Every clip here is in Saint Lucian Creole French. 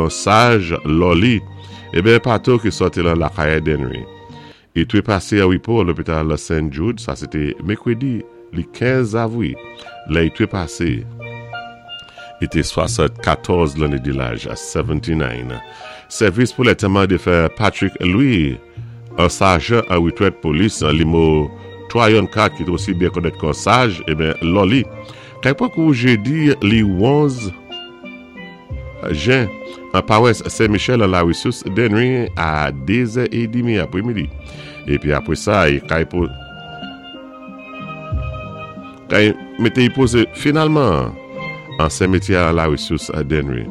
kon Saj Lòli, eben Pato ki sòti lan Lakayè Denri. I trepase an repo an lopital Saint Jude, sa se te mekredi li 15 avwi lè i trepase. I te 74 lanne de laj, 79. Sèvis pou lètèman defen Patrick Louis, an sajan an retrèt polis limo 3 yon 4 ki te osi byen konèt kon Saj, eben Lòli, kay pran kou jedi li 11 Jen, an pawès Sen Michèl an lari Sous Denri a 2 zè edimi apremidi. Epi apre sa, e kay po kay mete y poze finalman an senmetyè an lari Sous Denri.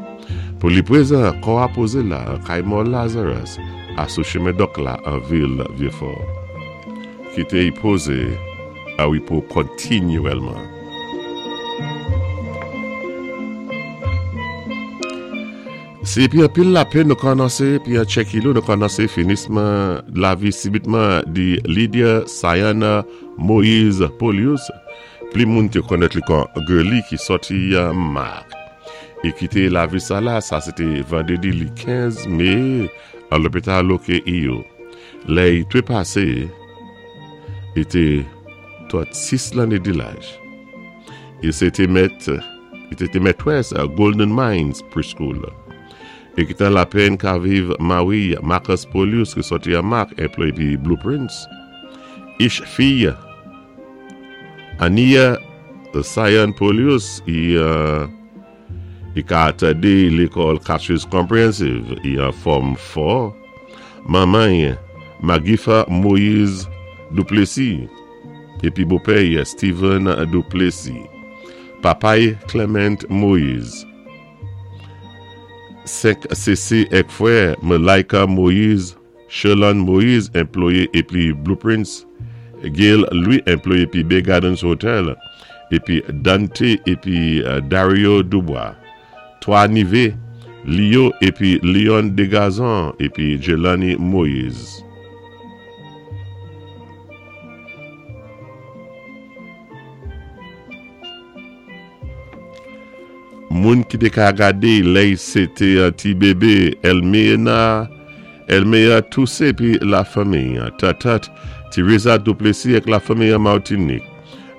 Pou li prezan, kò a poze la an kay mò Lazarus a sou chemen Dòk la an vil Vyefò. Kite y poze a repo kontinyèlman. Se epi anpil lapenn nou kònanse epi an tchèkilo nou kònanse finisman lavi sibitman di Lydia Sayana Moise Polius pli moun te konnèt li kon Girly ki sòti Mak e kite lavi sa la sa se te vandredi li 15 me an lopital OKEU lè i trepase e te 36 lanne de laj. E se te mèt, li te te mètrès Golden Minds Preschool. E ki tan lapenn ka viv mari Marcus Polius ki sòti an Mak enploye pi Blueprints. Ich fiy Ania Cyan Polius i I ka tande lekòl Cassius Comprehensive i an fòm fò. Manman i, Magifa Moïse Duplessis, epi bopè i, Steven Duplessis. Papa i, Clement Moïse. 5 sese èk frè, Malaika Moïse, Sherlande Moïse, enploye epi Blueprints, Gail Louis, enploye epi Bay Gardens Hotel, epi Dante epi Dario Dubois, 3 Nive, Leo epi Leon Degazon epi Jelani Moïse. Moun ki te ka gade lè y se te ti bebe Elmeena Elmea Touse epi lafanmi Tatat Teresa Duplessis ak lafanmi an Martinik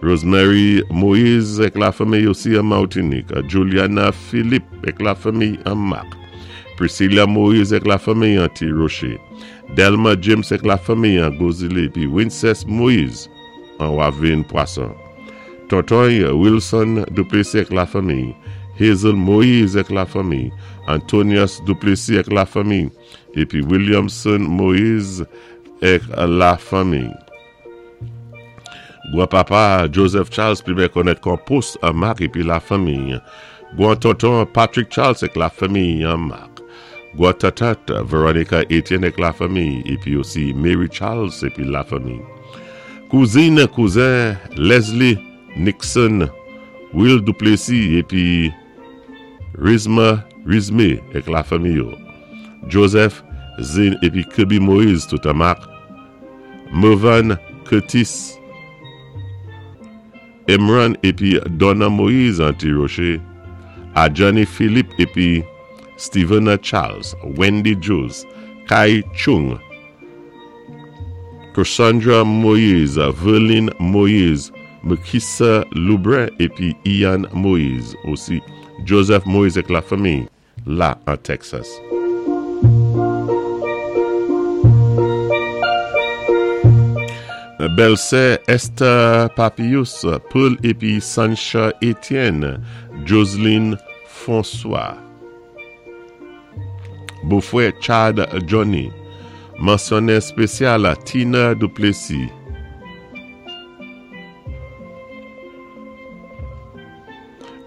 Rosemary Moise ak lafanmi osi an Martinik Juliana Philippe ak lafanmi an Mak Priscilla Moise ak lafanmi an Ti Roche Delma James ak lafanmi an Gozile epi Wincess Moise an Wavin Pwason. Tonton Wilson Duplessis ak lafanmi, Hazel Moise ak lafanmi, Antonius Duplessis ak lafanmi, epi Williamson Moise ak lafanmi. Gwan papa Joseph Charles pi byen konnèt kon Post an Mak epi lafanmi. Gwan tonton Patrick Charles ak lafanmi an Mak. Gwan tatat Veronica Etienne ak lafanmi epi osi Mary Charles epi lafanmi. Kouzin, kouzen Leslie Nixon, Will Duplessis epi Rizma Rizme ak lafanmi yo, Joseph Zin epi Kirby Moise tout an mak, Mervan Curtis, Emran epi Donna Moise an Ti Roche, Adjani Philippe epi Stevena Charles, Wendy Jules, Kai Chung, Cassandra Moise, Verline Moise, Mekissa Loubrun epi Ian Moise, osi Joseph Moise ak lafanmi la an Texas. Bèlsè Esther Papius, Pearl epi Sancha Etienne, Joseline François. Bofrè Chad Johnny. Mansyone spesyal Tina Duplessis.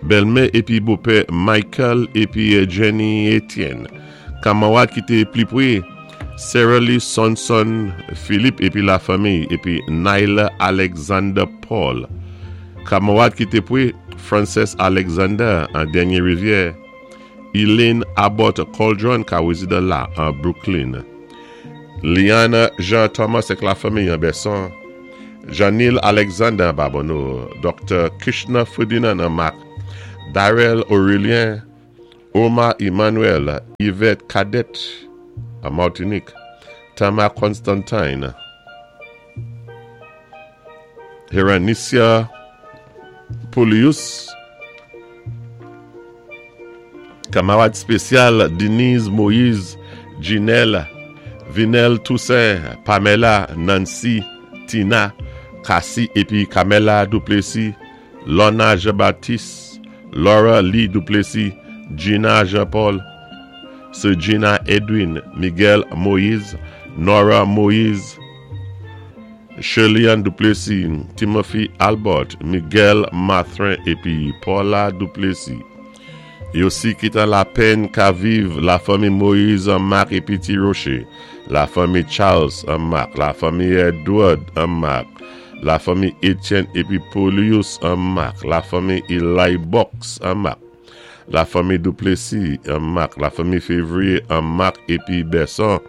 Bèlmè epi bopè Michael epi Jenny Etienne. Kamarad ki te pli pre Sarah-Lee Sonson Philippe epi lafanmi epi Nyla Alexander Paul. Kamarad ki te pre Frances Alexander an dènye rivyè. Elaine Abbott Coldron ka rezidan la an Brooklyn. Liana Jean Thomas ak lafanmi an Bèson. Jeanil Alexander an Babonneau. Doktè Kishna Ferdinand an Mak. Darrell Aurelien. Omar Emmanuel, Yvette Cadet an Martinik, Tama Constantine, Heranicia Polius, Kamarad spesyal Denise Moise, Ginelle, Vinel Toussaint, Pamela, Nancy, Tina, Cassie épi Camela Duplessis, Lorna Jean Baptiste, Laura Lee Duplessis, Gina Jean Paul, Sir Gina Edwin, Miguel Moise, Nora Moise, Shirley-Ann Duplessis, Timothy Albert, Miguel Mathrin épi Paula Duplessis. Yo si ki an lapenn ka viv lafanmi Moise an Marc épi Ti Rocher, lafanmi Charles an Marc, lafanmi Edward an Marc, lafanmi Etienne épi Polius an Marc, lafanmi Eli Box an Marc, lafanmi Duplessis an Marc, lafanmi Février an Marc épi Besson,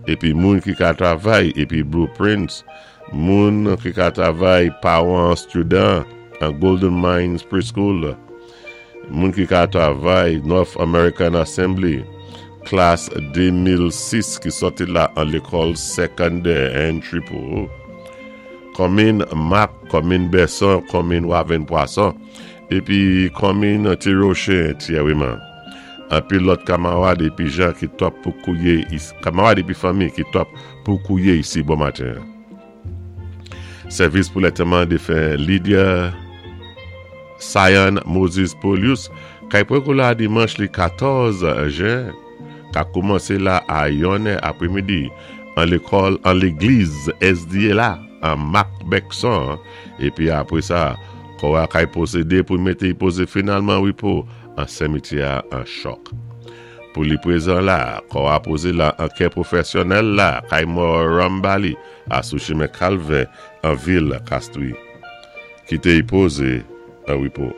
épi moun ki ka travay épi Blueprints, moun ki ka travay pawan student an Golden Mines Preschool, moun ki ka travay North American Assembly, klas 2006 ki sòti la an lékòl sekondè entry pou konmin Mak, konmin Besson, konmin Waven Pwason, épi konmin Ti Rocher Tyèwiman. Anpil lòt kamarad épi jan ki tòp pou kouye kamarad épi fanmi ki tòp pou kouye isi bon maten. Sèvis pou lantèman défen Lydia Sayan Moses Polius kay pran la dimanch li 14 jen ka koumansé la a 1 è aprèmidi an lékòl an légliz SDA la an Mak Bèkson épi apwé sa kò a kay pwosédé pou mété pozé finalman wipo an simityè a an Chòk. Pou li pwézan la, kò a pozé la an kè pwofèsyonèl la kay mò Rambali a sou chimen Kalvè an vil Kastwi. Kité y pozé an wipo.